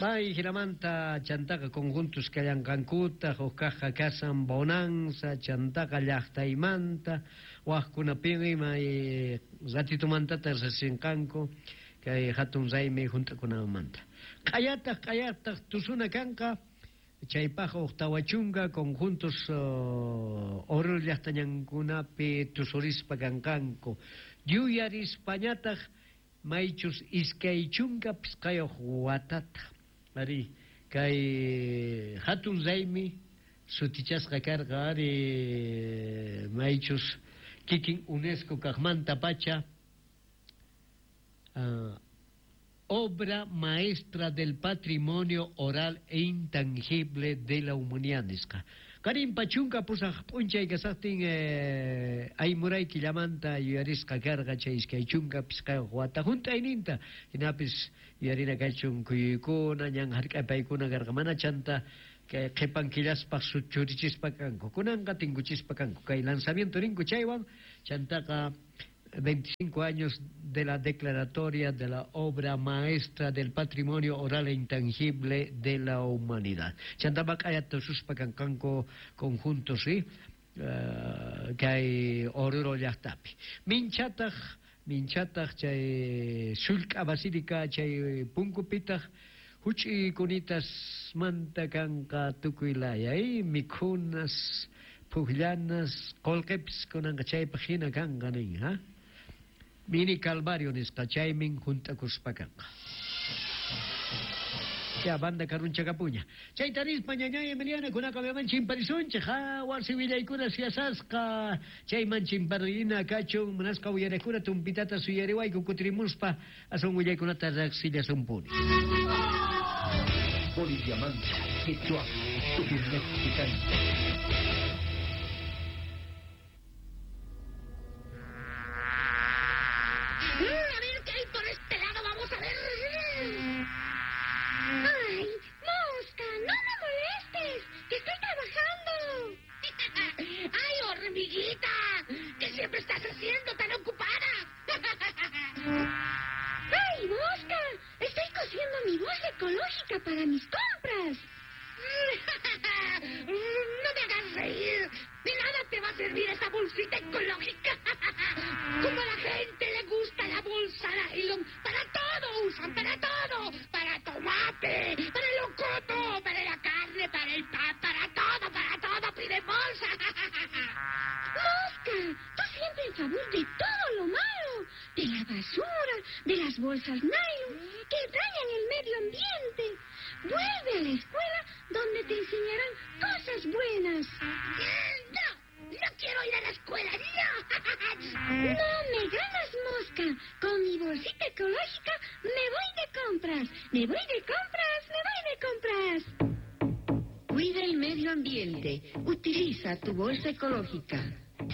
Bay jinamanta chantaqa conjuntos kallanqankutaq huk kaqqa kasan Bonanza chantaqa llaqtaymanta waqkunapin ima ratitumantata riqsinqanku kay hatun raymi hunt'akunanmanta. Q'ayataq tusuna kanqa chaypaq huk 40 conjuntos Oruro llaqtañankunapi tusurispa kanqanku yuyarispañataq maychus 25 watata ari kay hatun raymi sutichasqa karqa ari maychus kikin UNESCO kaqmanta pacha obra maestra del patrimonio oral e intangible de la humanidad nisqa. Qarinpa 18 p'unchay kasaqtin aymuray killamanta yuyarisqa karqa chay 25 wata hunt'ayninta hinapis yuyarina kachun kuyuykuna ñan hark'apaykuna karqa mana chanta kay qhipan killaspaq churichispa kanku kunanqa tinkuchispa kanku kay lanzamiento ninku chaywan chantaqa 25 años de la declaratoria de la obra maestra del patrimonio oral e intangible de la humanidad. Chantama q'ayata suspa kanqanku conjuntos, ¿sí? Kay Oruro llaqtapi. Minchataq chay sullk'a basílica chay punkupitaq huch'i kunitasmanta kanqa tukuy laya, mikhunas, pukllanas, qullqipis kunanqa chaypaq hina kanqa nin, ha? Mini Calvario nisqa chaymin hunt'akuspa kanqa. Ya banda karunchakapuña. Chayta nispa ñañay Emiliana kunaqa mayman chimparisunchik, ha? Wasi willaykuna siyasasqa chayman chimparina kachun munasqa uyariqkuna tumpitata suyariwayku kutirimuspa aswan willaykunata riqsillasunpuni. Boliviamanta, Quechua, Tucumán. A ver qué hay por este lado, vamos a ver. ¡Ay, mosca! ¡No me molestes! ¡Que estoy trabajando! ¡Ay, hormiguita! ¿Qué siempre estás haciendo tan ocupada? ¡Ay, mosca! Estoy cosiendo mi bolsa ecológica para mis compras. ¡No me hagas reír! ¡De nada te va a servir esa bolsita ecológica! Como a la gente le gusta la bolsa nylon, para todo usan, para todo. Para tomate, para el locoto, para la carne, para el pan, para todo piden bolsa. ¡Mosca! Tú siempre en favor de todo lo malo, de la basura, de las bolsas nylon, que dañan el medio ambiente. Vuelve a la escuela donde te enseñarán cosas buenas. ¡No! ¡No quiero ir a la escuela! ¡No! ¡No me ganas, mosca! Con mi bolsita ecológica me voy de compras. ¡Me voy de compras! ¡Me voy de compras! Cuida el medio ambiente. Utiliza tu bolsa ecológica.